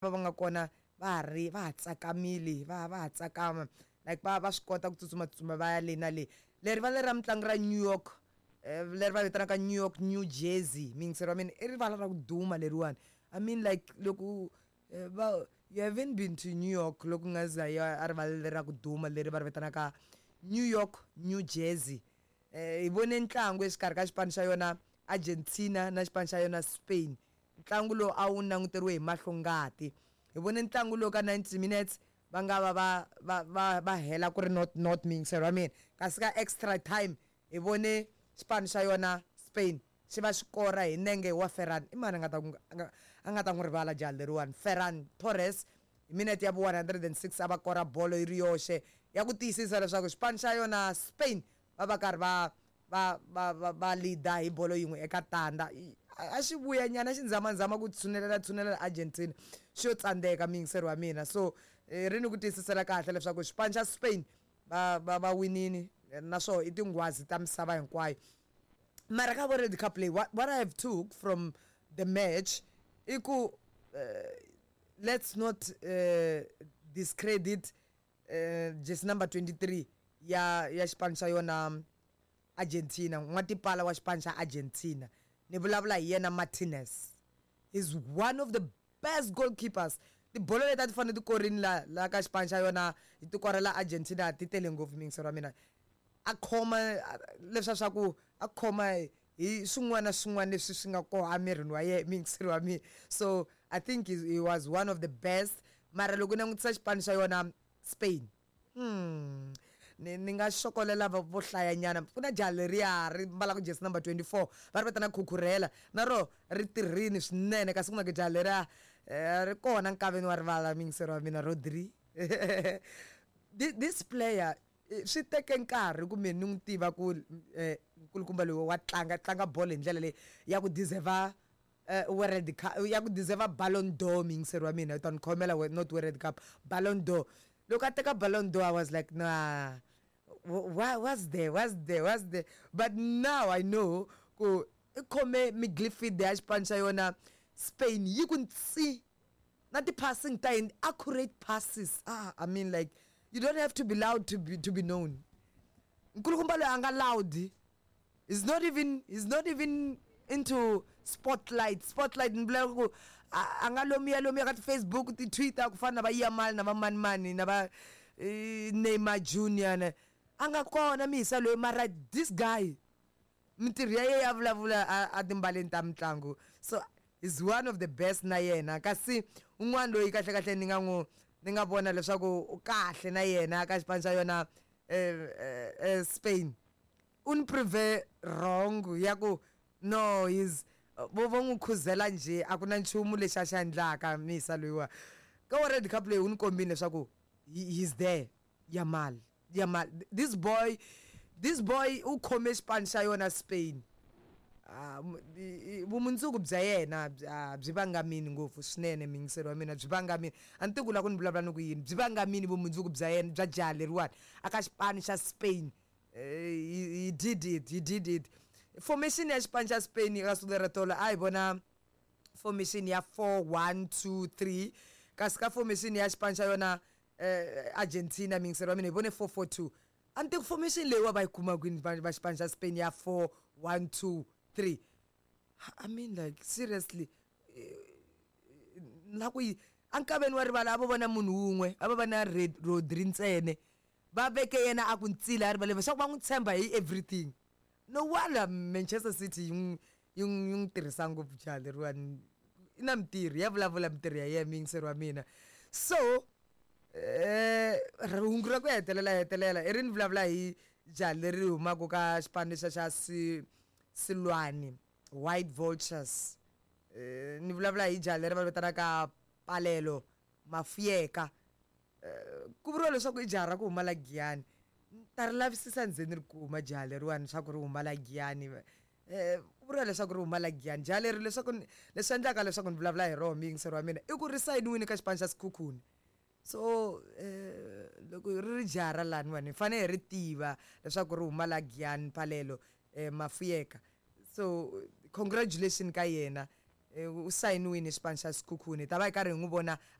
Va nga kona va ha ri va ha tsakamile, va ha tsakama, like va swi kota ku tsutsumatsutsuma va ya le na le. Leri rivala ra mitlangu ra New York, leri va vitanaka New York New Jersey, muyingiseri wa mina, i rivala ra ku duma leriwani. I mean, like, loko va you haven't been to New York, loko u nga za ya a rivala leri ra ku duma leri va ri vitanaka New York New Jersey. Hi vone ntlangu exikarhi ka xipano xa yona Argentina na xipano xa yona Spain. Ntlangu lowu a wu languteriwe hi mahlo ngati. Hi vone ntlangu lowu ka 90 minutes va nga va va hela ku ri not not, muyingiseri wa mina, kasi ka extra time hi vone xipano xa yona Spain xi va xi kora hi nenge wa Ferran. I mani a nga ta a nga ta n'wi rivala jaha leriwani, Ferran Torres? Hi minete ya vu 106 a va kora bolo yi ri yoxe ya ku tiyisisa leswaku xipano xa yona Spain va karhi va leader hi bolo yin'we eka tandza. A xi vuya nyana, xi nzamanzama ku tshunelela tshunelela Argentina, xi yo tsandzeka, muyingiseri wa mina. So ri ni ku tiyisisela kahle leswaku xipano xa Spain va winini, naswona i tinghwazi ta misava hinkwayo. Mara ka World Cup leyi, what I have took from the match i ku let's not discredit jersey number 23 ya xipano xa yona Argentina, n'watipala wa xipano xa Argentina. Ni vulavula hi yena Martinez. He's one of the best goalkeepers. Tibolo leti a ti fanele ti korini la ka xipano xa yona ti korela Argentina ti tele ngopfu, muyingiseri wa mina. A khoma leswiya swa ku a khoma hi swin'wana na swin'wana leswi swi nga kona emirini wa yena, muyingiseri wa mina. So I think he was one of the best. Mara loko u langutisa xipano xa yona Spain, ni nga xokolela vo hlayanyana. Ku na jaha leriya ri mbalaka jersey number 24, va ri vitana Cucurella, na ro ri tirhini swinene. Kasi ku na jaha leriya ri kona nkaveni wa rivala, muyingiseri wa mina, Rodri. This player, swi teke nkarhi ku mina ni n'wi tiva ku nkulukumba loyi wa tlanga bolo hi ndlela leyi ya ku deserve World Cup, ya ku deserve Ballon d'Or, muyingiseri wa mina. U ta ni khomela, not World Cup, Ballon d'Or. Loko a teka Ballon d'Or, I was like, "Nah, what's there, what's there, what's there?" But now I know ku i khome midfield ya xipano xa yona Spain yi ku ntsi, na ti-passing ta yini, accurate passes. Ah, I mean, like, you don't have to be loud to be known. Nkulukumba loyi a nga loud is not even into spotlight spotlight. Ni vula ku a nga lomuya lomuya ka ti-Facebook, ti-Twitter, ku fana na va Yamal na va manimani na va Neymar Junior na a nga kona mihisa loyi. Mara this guy, mintirho ya yena ya vulavula a timbaleni ta mitlangu, so is one of the best na yena. Kasi un'wana loyi kahle kahle ni nga vona leswaku u kahle na yena ka xipano xa yona Spain, u ni prove wrong ya ku no, he's vo n'wi khuzela njhe, a ku na nchumu lexi a xi endlaka. Misa loyiwa ka World Cup leyi u ni kombile leswaku he's there. Yamal, Yamal, this boy u khome xipano xa yona Spain. Ah, vumundzuku bya yena byi vangamini ngopfu swinene, muyingiseri wa mina, byi vangamini. A ni tivi ku la ku ni vulavula ni ku yini. Byi vangamini vumundzuku bya yena, bya jaha leriwani aka xipano xa Spain. He did it, he did it. Formation ya xipano xa Spain ka siku lera tolo, a hi vona formation ya 4-1-2-3, kasi ka formation ya xipano xa yona Argentina, muyingiseri wa mina, hi vone 4-4-2. A ni tivi formation leyi wa va yi kuma kwini va xipano xa Spain ya 4-1-2-3. I mean, like, seriously, na ku yi ankaveni wa rivala a vo vona munhu wun'we, a va va na Red Rodri ntsene, va veke yena a ku ntsila a rivaleni leswaku va n'wi tshemba hi everything. No wonder Manchester City yi n'wi tirhisa ngopfu jaha leriwani. I na mintirho ya vulavula, mintirho ya yena, muyingiseri wa mina. So hungu ra ku hetelela i ri ni vulavula hi jaha leri humaka ka xipano lexiya xa Silwani White Vultures. Ni vulavula hi jaha leri va vitanaka Palelo Mafuyeka. Ku vuriwa leswaku i jaha ra ku huma la Giyani. Ni ta ri lavisisa ndzeni ri kuma jaha leriwani leswaku ri huma la Giyani. Ku vuriwa leswaku ri huma la Giyani jaha leri. Leswaku leswi endlaka leswaku ni vulavula hi roho, muyingiseri wa mina, i ku ri sayiniwini ka xipano xa Sekhukhune. So loko ri ri jaha ra laniwani, hi fanele hi ri tiva leswaku ri huma la Giyani, Palelo Mafuyeka. So congratulation ka yena. U sayiniwini xipano xa Sekhukhune, hi ta va hi karhi hi n'wi vona.